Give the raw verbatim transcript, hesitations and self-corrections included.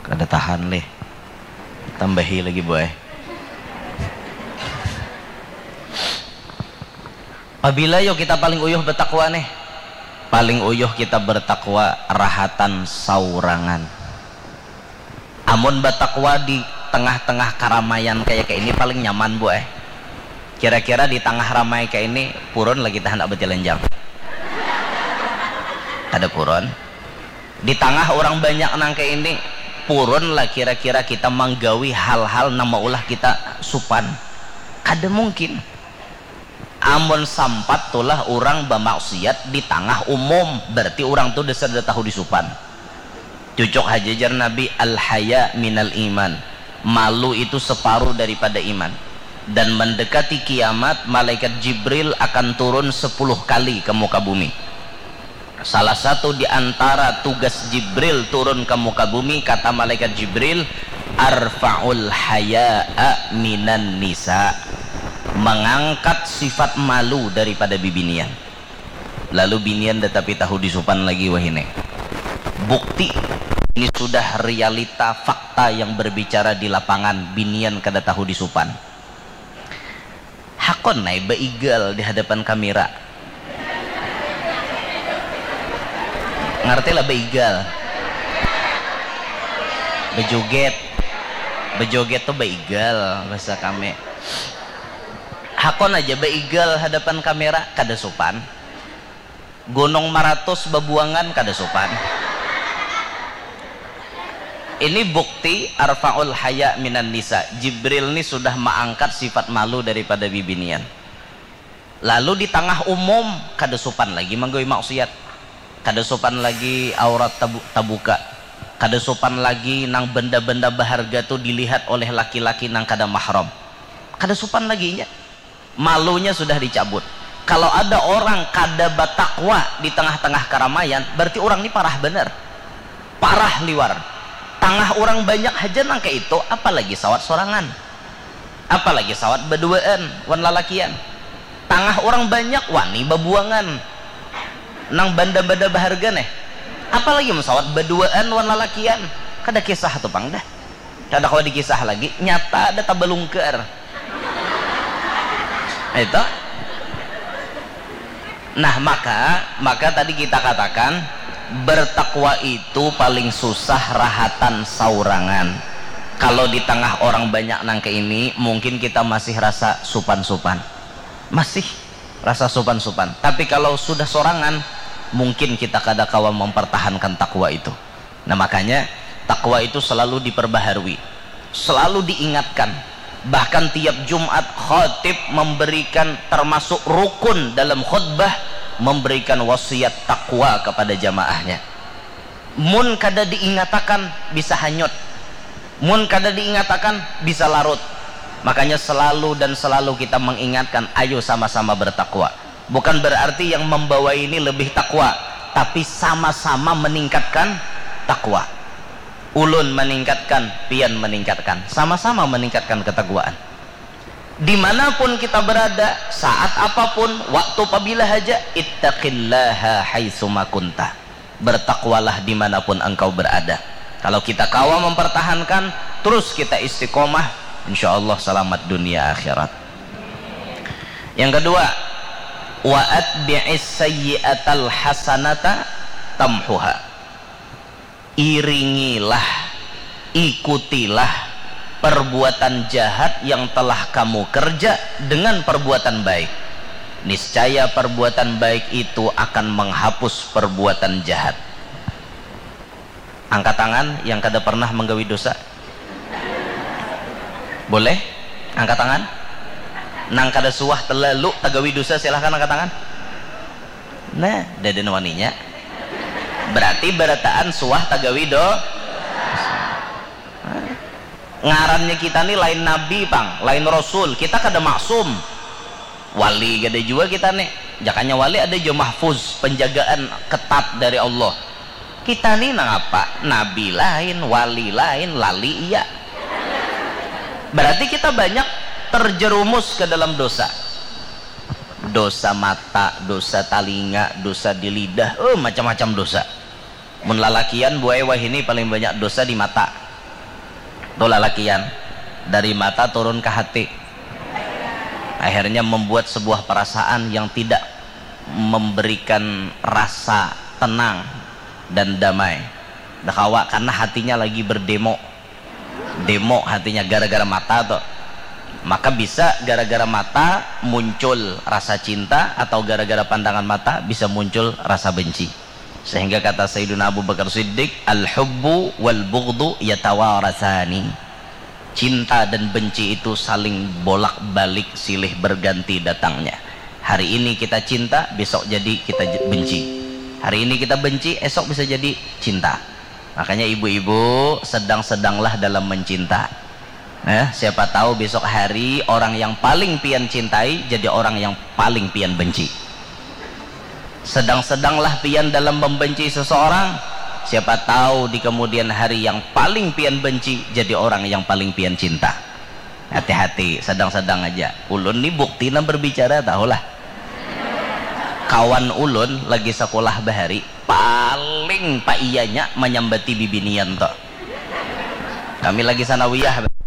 Kada tahan lih. Tambahi lagi, boy. Pabila yo kita paling uyuh batakwa nih? Paling uyuh kita bertakwa rahatan saurangan. Amun batakwa di tengah-tengah karamaian kaya kaini paling nyaman, boy. Kira-kira di tangah ramai kaini purun lagi kita handak batilanjang? Kada purun. Di tangah urang banyak nang kaya ini, purun lah kira-kira kita manggawi hal-hal nang maulah kita supan? Kada mungkin. Amun sampat tulah urang bamaksiat di tangah umum, berarti urang tu dasar da tahu disupan. Cucuk haja jar Nabi, "Al-haya minal iman." Malu itu separuh daripada iman. Dan mendekati kiamat, malaikat Jibril akan turun sepuluh kali ke muka bumi. Salah satu di antara tugas Jibril turun ke muka bumi, kata malaikat Jibril, "Arfa'ul haya'a minan nisa." Mengangkat sifat malu daripada bibinian. Lalu binian da tapi tahu disupan lagi wahini. Bukti ini sudah realita fakta yang berbicara di lapangan, binian kada tahu disupan. Hakon ai baigal di hadapan kamera. Ngarti lah baigal? Bejoget. Bejoget tu baigal bahasa kami. Hakon aja baigal hadapan kamera, kada supan. Gunung Maratus babuangan, kada supan. Ini bukti arfa'ul haya minan nisa. Jibril ni sudah maangkat sifat malu daripada bibinian. Lalu di tangah umum, kada supan lagi manggawi maksiat. Kada supan lagi aurat tabu-, tabuka. Kada supan lagi nang benda-benda baharga tu dilihat oleh laki-laki nang kada mahram. Kada supan lagi inya. Malunya sudah dicabut. Kalau ada orang kada batakwa di tengah-tengah karamaian, berarti orang ni parah banar. Parah liwar. Tangah orang banyak haja nang kaitu, apalagi sawat sorangan. Apalagi sawat baduaan wan lalakian. Tangah orang banyak wani babuangan. Nang banda-banda baharga neh. Apalagi mun sawat baduaan wan lalakian. Kada kisah tu pang dah. Kada kawa dikisah lagi, nyata ada tabalungkar. Itu. Nah, maka, maka tadi kita katakan, bertakwa itu paling susah rahatan saurangan. Kalau di tangah orang banyak nang kaini, mungkin kita masih rasa supan-supan. Masih rasa supan-supan. Tapi kalau sudah sorangan, mungkin kita kada kawa mempertahankan takwa itu. Nah, makanya takwa itu selalu diperbaharui, selalu diingatkan. Bahkan tiap Jumat khatib memberikan, termasuk rukun dalam khutbah, memberikan wasiat takwa kepada jamaahnya. Mun kada diingatakan, bisa hanyut. Mun kada diingatakan, bisa larut. Makanya selalu dan selalu kita mengingatkan, ayo sama-sama bertakwa. Bukan berarti yang membawa ini lebih takwa, tapi sama-sama meningkatkan takwa. Ulun meningkatkan, pian meningkatkan, sama-sama meningkatkan ketakwaan. Dimanapun kita berada, saat apapun, waktu pabila haja, ittaqillaha haitsuma kunta. Bertakwalah dimanapun engkau berada. Kalau kita kawa mempertahankan, terus kita istiqomah, insya Allah selamat dunia akhirat. Yang kedua, wa atbi'is sayyi'atal hasanata tamhuha. Iringilah, ikutilah perbuatan jahat yang telah kamu kerja dengan perbuatan baik. Niscaya perbuatan baik itu akan menghapus perbuatan jahat. Angkat tangan yang kada pernah menggawi dosa. Boleh? Angkat tangan. Nang kada suah terlalu tagawi dosa, silahkan angkat tangan. Nah, dadan waninya. Berarti barataan suah tagawi do. Ngarannya kita ni lain nabi pang, lain rasul. Kita kada maksum. Wali kada jua kita nih. Jakanya wali ada jua mahfuz, penjagaan ketat dari Allah. Kita ni nangapa? Nabi lain, wali lain, lali iya. Berarti kita banyak terjerumus ke dalam dosa. Dosa mata, dosa talinga, dosa di lidah, eh, macam-macam dosa. Mun lalakian, buai wahini paling banyak dosa di mata. Itu lalakian, dari mata turun ke hati. Akhirnya membuat sebuah perasaan yang tidak memberikan rasa tenang dan damai. Dah kawa, karena hatinya lagi berdemo. Demo hatinya gara-gara mata tuh. Maka bisa gara-gara mata muncul rasa cinta, atau gara-gara pandangan mata bisa muncul rasa benci. Sehingga kata Sayyiduna Abu Bakar Siddiq, "Al-hubbu wal bughdu yatawarasani." Cinta dan benci itu saling bolak-balik, silih berganti datangnya. Hari ini kita cinta, besok jadi kita j-, benci. Hari ini kita benci, esok bisa jadi cinta. Makanya ibu-ibu, sedang-sedanglah dalam mencinta. Eh, siapa tahu besok hari orang yang paling pian cintai jadi orang yang paling pian benci. Sedang-sedanglah pian dalam membenci seseorang, siapa tahu di kemudian hari yang paling pian benci jadi orang yang paling pian cinta. Hati-hati, sedang-sedang aja. Ulun ni bukti nang berbicara, tahulah. Kawan ulun lagi sekolah bahari, paling paiyanya manyambati bibinian tuh. Kami lagi sanawiyah.